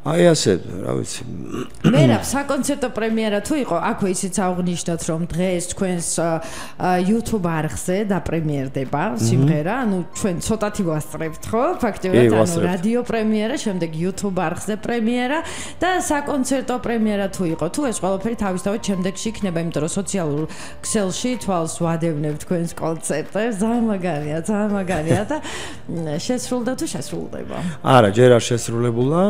აი ასე, რა ვიცი. მერაბ საკონცერტო პრემიერა თუ იყო, აქვე ისიც აღვნიშნოთ, რომ დღეს თქვენს YouTube არხზე დაპრემიერდება სიმღერა, ანუ ჩვენ ცოტათი ვასწრებთ, ხო? ფაქტობრივად, ანუ რადიო პრემიერა, შემდეგ YouTube არხზე პრემიერა და საკონცერტო პრემიერა თუ იყო, თუ ეს ყველაფერი თავისთავად შემდეგში იქნება, იმიტომ რომ სოციალურ ქსელში თვალს ვადევნებ თქვენს კონცერტებს, ძალიან მაგარია და შესრულდა თუ შესრულდება? არა, ჯერ არ შესრულებულა,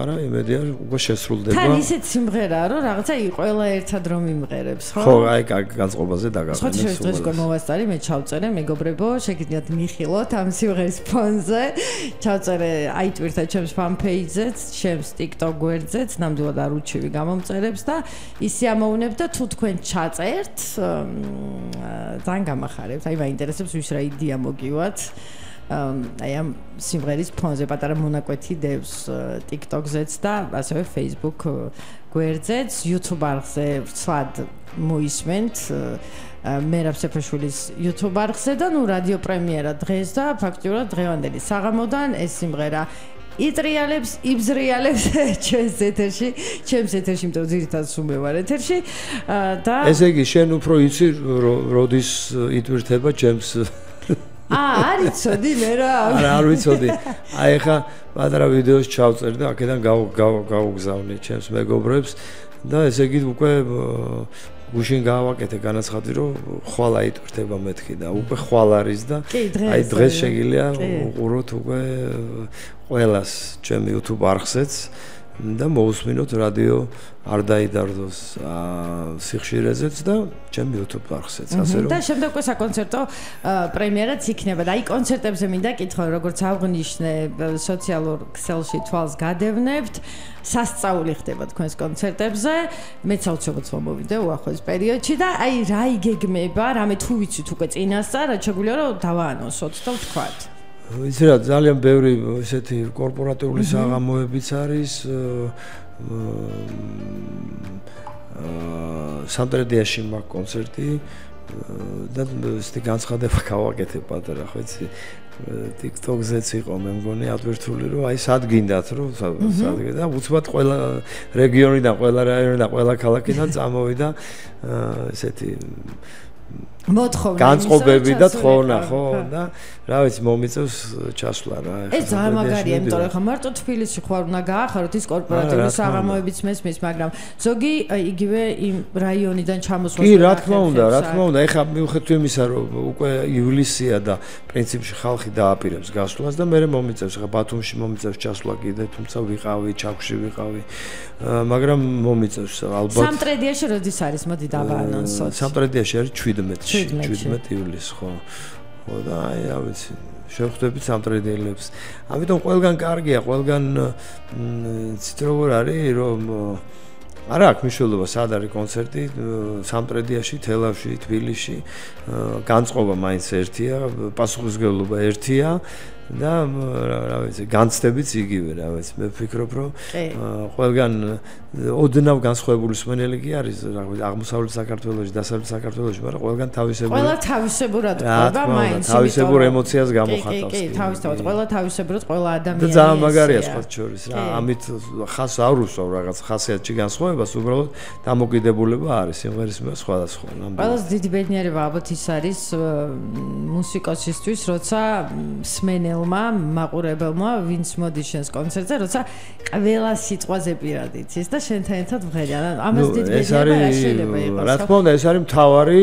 მაგრამ იმედია უკვე შესრულდება. თან ისეთ სიმღერაა, რომ რაღაცა ყველა ერთად რომ იმღერებს, ხო? ხო, აი განწყობაზე დაგაყენეს. ხო, დღეს მოვასწარი, მე ჩავწერე, მეგობრებო, შეგიძლიათ მიხილოთ ამ სიმღერის ფონზე. ჩავწერე აი Twitter ჩემს fan page-ზეც, ჩემს TikTok გვერდზეც, ნამდვილად არ უჩივი გამომწერებს და ისე ამოვნებ და თუ თქვენ ჩაწერთ, ძალიან გამახარებთ. აი მაინტერესებს ვის რა იდეა მოგივათ. აი ამ სიმღერის ფონზე პატარა მონაკვეთი დევს TikTok-ზეც და ასევე Facebook გვერდზეც, YouTube არხზე ვცლად მოისმენთ მერაბ სეფაშვილის YouTube არხზე და ნუ რადიო პრემიერა დღეს და ფაქტიურად დღევანდელი საღამოდან ეს სიმღერა იტრიალებს, იბზრიალებს ჩვენს ეთერში, იმიტომ რომ ძირითადად სულ მე ვარ ეთერში და ესე იგი შენ უფრო იცი როდის იტვირთება ჩემს არ იცოდი მე რა. არ ვიცოდი. აი ხა პატარა ვიდეოს ჩავწერ და აქედან გავუგზავნე ჩემს მეგობრებს და ესე იგი უკვე გუშინ გავაკეთე განაცხადი რომ ხვალ აიტვირთება მეთქი და უკვე ხვალ არის და აი დღეს შეგიძლია უყუროთ უკვე ყველას ჩემ YouTube არხზეც და მოусმინოთ რადიო არ დაიდარდოს სიხშირეზეც და ჩემ YouTube არხზეც ასე რომ და შემდეგ უკვე საკონცერტო პრემიერაც იქნება და აი კონცერტებზე მინდა კითხო როგორც აღვნიშნე სოციალურ ქსელში თვალს გადევნებთ სასწაული ხდება თქვენს კონცერტებზე მეც აუცილებლად მომოვიდე უახლოეს პერიოდში და აი რა იგეგმება რამე თუ ვიცით უკვე წინასწარ რაც შეგვიძლია რომ დავაანონსოთ და ვთქვათ ვიცი რა ძალიან ბევრი ესეთი კორპორატიული საღამოებიც არის სამტრედიაში მაქვს კონცერტი და ესეთი განცხადება გავაკეთე პატარა ხო იცი TikTok-ზეც იყო მე მგონი ატვირთული რომ აი სად გინდათ რომ სად და უცბად ყველა რეგიონიდან ყველა რაიონიდან ყველა ქალაქიდან წამოვიდა ესეთი მოთხოვნა განწყობები და თხოვნა ხო და რა ვიცი მომიწევს ჩასვლა რა ეს ძალიან მაგარია იმიტომ რომ ხა მარტო თბილისში ხوار უნდა გაახაროთ ის კორპორატიული საღამოებიც მესმის მაგრამ ზოგი იგივე იმ რაიონიდან ჩამოსვლა კი რა თქმა უნდა ეხა მიუხედავად იმისა რომ უკვე ივლისია და პრინციპში ხალხი დააპირებს გასვლას და მე მომიწევს ხა ბათუმში მომიწევს ჩასვლა კიდე თუმცა ვიყავი ჩაქვში ვიყავი მაგრამ მომიწევს ალბათ სამტრედიაში როდის არის მოდი დავაანონსოთ სამტრედიაში არის 17 ივლისს ხო ხო და აი რა ვიცი შევხვდებით სამტრედიელებს ამიტომ ყველგან კარგია ყველგან ცით როგორ არის რომ არა აქვს მნიშვნელობა სად არის კონცერტი სამტრედიაში თელავში თბილისში განწყობა მაინც ერთია პასუხისმგებლობა ერთია და რა ვიცი განცდებიც იგივე რა ვიცი მე ვფიქრობ რომ ყველგან ოდნავ განსხვავებული მსმენელი კი არის რა ვიცი აღმოსავლეთ საქართველოში დასავლეთ საქართველოში მაგრამ ყველგან თავისებურად ყובה მაინც თავისებურ ემოციას გამოხატავს კი თავისთავად ყველა თავისებურად ყველა ადამიანი და ძალიან მაგარია სხვა შორის რა ამით ხას არ უსვავ რაღაც ხასიათში განსხვავებას უბრალოდ დამოკიდებულება არის სიმღერის სხვადასხვა ყველაზე დიდი ბედნიერება ალბათ ის არის მუსიკოსისთვის როცა მსმენელმა მაყურებელმა ვინც მოდის შენს კონცერტზე როცა ყველა სიტყვაზე პირად იცის და შენთან ერთად ვღერია ამას დიდი ბედნიერება არ შეიძლება იყოს რა თქმა უნდა ეს არის მთავარი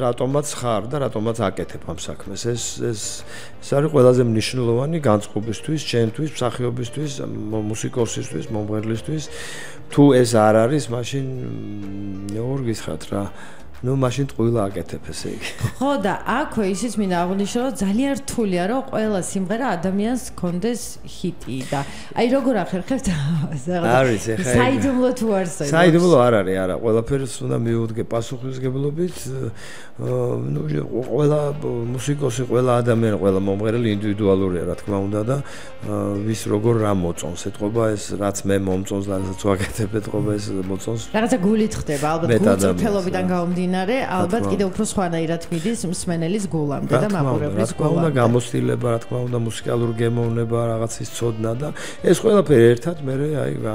რატომაც ხარ და რატომაც აკეთებ ამ საქმეს ეს არის ყველაზე მნიშვნელოვანი განწყობისთვის ჩემთვის მსახიობისთვის მუსიკოსისთვის მომღერლისთვის თუ ეს არ არის მაშინ როგორ გითხრათ რა ну машин ტყუილა აკეთებ ესე იგი. ხო და აქვე ისიც მინდა აღვნიშნო რომ ძალიან რთულია რომ ყველა სიმღერა ადამიანს კონდეს ჰიტი და აი როგორ ახერხებთ არის ეხა საიდუმლო თუ არსებობს. საიდუმლო არ არის არა ყველაფერს უნდა მიუდგე პასუხისმგებლობით ну ყველა მუსიკოსი ყველა ადამიანი ყველა მომღერალი ინდივიდუალურია რა თქმა უნდა და ვის როგორ რა მოწონს ეთყობა ეს რაც მე მომწონს და რაც ვაკეთებ ეთყობა ეს მოწონს. რაღაცა გულით ხდება ალბათ გულწრფელობიდან გამომდინარე ალბათ კიდევ უფრო სხვანაირად მიდის მსმენელის გულამდე და მაყურებლის გულამდე. რა თქმა უნდა გამოცდილება, რა თქმა უნდა მუსიკალური გემოვნება, რაღაცის ცოდნა და ეს ყველაფერი ერთად მე აი